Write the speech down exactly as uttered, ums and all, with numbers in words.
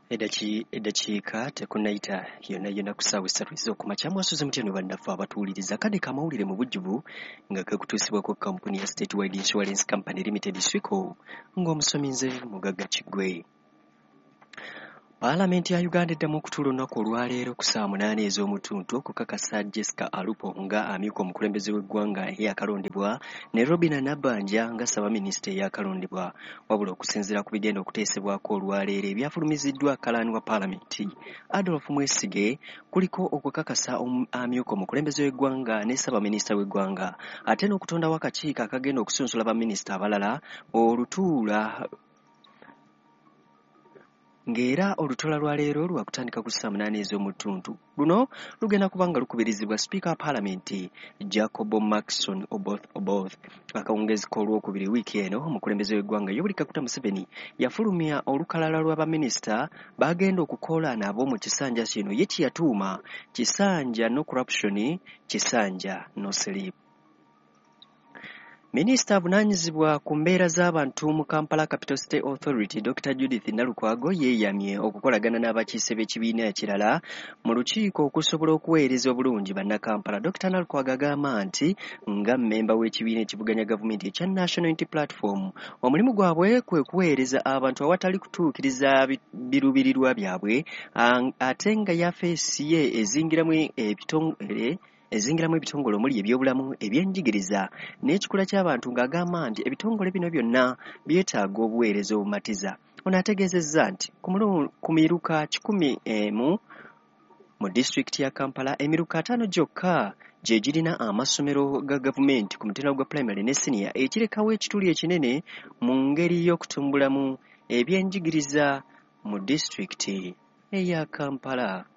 Eddakiika tekunnayita yonna yonna ku ssaawa essatu ez'okumakya. Mwasuze mutya ne bannaffe abatuwuliriza? Kadde kamawulire mu bujjuvu nga gakutuusibwako kampuni ya State Wide Insurance Company Limited, SWICO, ng'omusomi nze Mugagga Kiggwe. Paalamenti ya Uganda eddamu okutuula olunaku olwaleero ku ssaawa munaana ez'omutuntu okukakasa Jessica Alupo nga amyuka omukulembeze w'eggwanga eyakalondebwa ne Robinah Nabbanja nga ssaabaminisita eyakalondebwa. Wabula okusinziira ku bigenda okuteesebwako olwaleero ebyafulumiziddwa kalaani wa paalamenti Adolf Mwesige, kuliko okukakasa amyuka omukulembeze w'eggwanga ne ssaabaminisita w'eggwanga, ate n'okutondawo akakiiko akagenda okusunsula baminisita abalala olutuula, ng'era olutuula lwa leero lwakutandika ku ssaawa munaana ez'omutuntu. Luno lugenda kuba nga lukubirizibwa sipiika wa paalamenti Jacob Markson Oboth Oboth. Akawungeezi k'olwokubiri wiiki eno, omukulembeze w'eggwanga Yoweri Kaguta Museveni yafulumya olukalala lwa baminisita bagenda okukola nabo mu kisanja kino ye kye yatuuma kisanja no corruption, kisanja no sleep. Minisita avunaanyizibwa ku mbeera z'abantu mu Kampala Capital City Authority, Dokita Judith Nalukwago, yeeyamye okukolagana n'abakiise b'ekibiina ekirala mu lukiiko okusobola okuweereza obulungi bannakampala. Dokita Nalukwago agamba nti nga mmemba w'ekibiina ekivuganya gavumenti ekya National Unity Platform, omulimu gwabwe kwe kuweereza abantu awatali kutuukiriza biruubirirwa byabwe, ate nga yafeesi ye ezingiramu ebitongole ezingiramu ebitongole omuli ebyobulamu, ebyenjigiriza n'ekikula ky'abantu, ng'agamba nti ebitongole bino byonna byetaaga obuweereza obumatiza. Ono ategeezezza nti ku miruka kikumi emu mu disitulikiti ya Kampala, emiruka ataano gyokka gye girina amasomero ga gavumenti ku mutendera gwa pulayimale ne siniya, ekirekawo ekituli ekinene mu ngeri y'okutumbulamu ebyenjigiriza mu disitulikiti eya Kampala.